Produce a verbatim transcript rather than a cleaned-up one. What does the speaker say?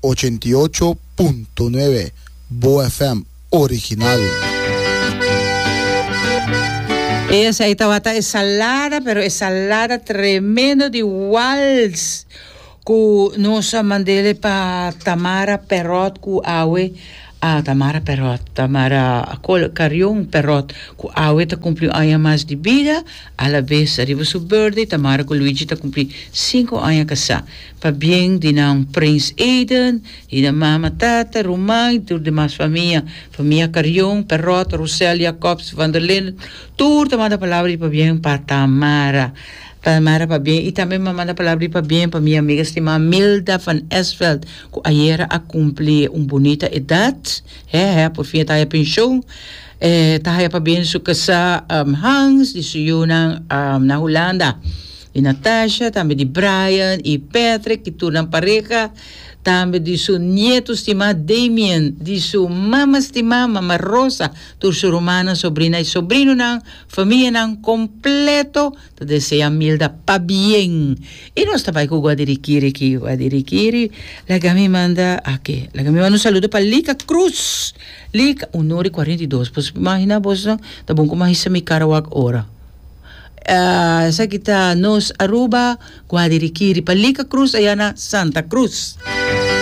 Ochenta i ocho punto nuebe Bo F M original. Esei tabata e salada, pero e salada tremendo di wals ku nos a mandele pa Tamara Perot ku awe a Tamara Perot, Tamara Col Carion Perot ku awe ta kumpli un aña mas di bida, a la bes riba su birthday Tamara ku Luigi ta kumpli sinku aña kasá. Pabien di nan Prins Eden, di nan mama, tata, ruman i tur demas famia, famia Carion, Perot, Rosel, Jacobs, Van der Linden, tur ta manda palabra di pabien pa Tamara. Tamara pabien i tambe mi a manda palabra di pabien pa mi amiga stimá Milda van Esveld ku ayera a kumpli un bunita edat, he he por fin e ta haya penshon. E ta haya pabien su kasá Hans, di su yunan na Hulanda. Di Natasha, tambe di Brian i Patrick i tur nan pareha, tambe di su nieto stimá Damien, di su mama stimá Mama Rosa, tur su rumannan, sobrina i sobrinonan, famianan kompleto ta desea Milda pabien. I nos ta bai ku Guadirikiri aki, Guadirikiri, laga mi manda aki, laga mi manda un saludo pa Lika Cruz, Lika, un ora i kuarenta i dos, pues imagina bosnan, ta bon ku mi a hisa mi kara wak ora. Esaki ta Nos Aruba, Guadirikiri pa Lika Cruz allá na Santa Cruz.